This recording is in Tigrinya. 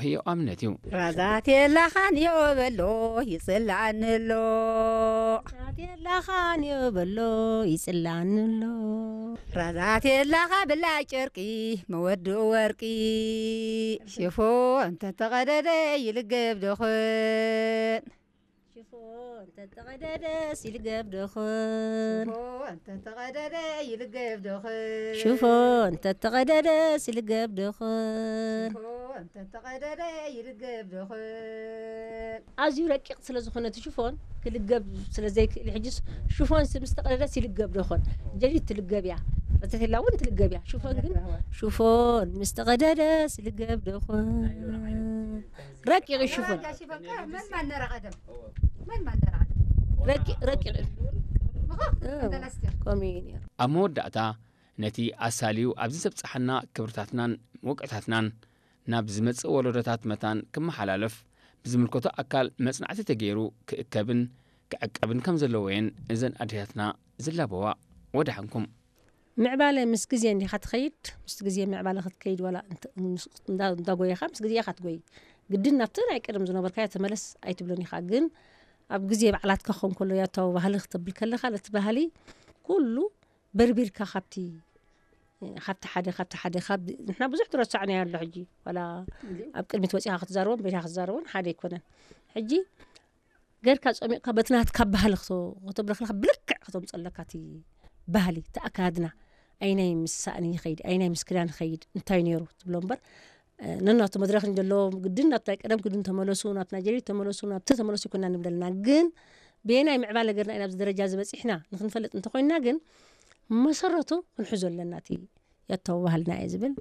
ህያው ኣብነት እዩ። ራዛት የላኻን የበሎ ይጽላእኒ ኣሎ። ራዛት የላኻን የበሎ ይጽላእኒ ኣሎ። ራዛት የላኻ ብላ ጨርቂ መወድኡ ወርቂ ሽፎ እንተተቐደደ ይልገብ ደኾን። ሽፎን ተተቐደደስ ይልገብ ደኾን። ሽፎን ተተቐደደ ይልገብ ደኾን። ሽፎን ተተቐደደስ ይልገብ ደኾን። ሽፎን ተተቐደደ ይልገብ ደኾን። ኣዝዩ ረቂቕ ስለ ዝኾነ እቲ ሽፎን ክልገብ ስለ ዘይክእል፣ ሕጂ ሽፎን ምስ ተቐደደስ ይልገብ ደኾን። ጀዲድ ትልገብ እያ። ረተቴላ እውን ትልገብ እያ። ሽፎን ግን ሽፎን ምስ ተቐደደስ ይልገብ ደኾን። ረቂቕ እዩ ሽፎን። መን ማን ነራ ቀደም መን ማን ነራ ቀደም ረቂቕ ረቂቕ እዩ። ምኾ እንተላስቲያ ከምኡ እዩ ነይሩ። ኣብ መወዳእታ፣ ነቲ ኣሳልዩ ኣብዚ ዘብጽሓና ክብርታትናን መውቅዕታትናን ናብ ዝመጽእ ወለዶታት መታን ክመሓላለፍ ብዝምልከቶ ኣካል መጽናዕቲ ተገይሩ ክእከብን ክዕቀብን ከም ዘለዎ እየን እዘን ኣዴታትና ዝላበዋ። ወደሓንኩም። ምዕባለ ምስ ግዜ እንዲኻ ትኸይድ። ምስ ግዜ ምዕባለ ክትከይድ ዋላ እንተ- ምስ- እንዳ- እንዳጎየኻ ምስ ግዜ ኢኻ ትጎይ። ግድን ናብቲ ናይ ቀደም ዝነበርካዮ ተመለስ ኣይትብልን ኢኻ። ግን ኣብ ግዜ ባዕላትካ ክኸውን ከሎ ያታዊ ባህሊ ክትብል ከለኻ ነቲ ባህሊ ኩሉ በርቢርካ ካብቲ ካብቲ ሓደ ካብቲ ሓደ ካብ ንሕና ብዙሕ ትረሳዕና ኣሎ። ሕጂ ዋላ ኣብ ቅድሚት ወፂኻ ክትዛረቦን ቤትካ ክትዛረቦን ሓደ ኣይኮነን። ሕጂ ገርካ ጸሚቕካ በቲ ናትካ ባህሊ ክተ- ከተብሎ ከለካ ብልክዕ ከተምፀለካ እቲ ባህሊ እቲ ኣካድና ኣይናይ ምስ ሳእኒ ይኸይድ ኣይናይ ምስ ክዳን ይኸይድ እንታይ ነይሩ ትብሎ እምበር ነናቱ መድረክ ዘለዎም ግድን ናብቲ ናይ ቀደም ግድን ተመለሱ ናብቲ ናይ ጀዲድ ተመለሱ ናብቲ ተመለሱ ይኮና ንብለልና። ግን ብየናይ ምዕባለ ገርና ኢና ኣብዚ ደረጃ ዝበፂሕና ንክንፈልጥ እንተኮይንና ግን መሰረቱ ክንሕዞ ኣለና እቲ ያታዊ ባህልና እየ ዝብል።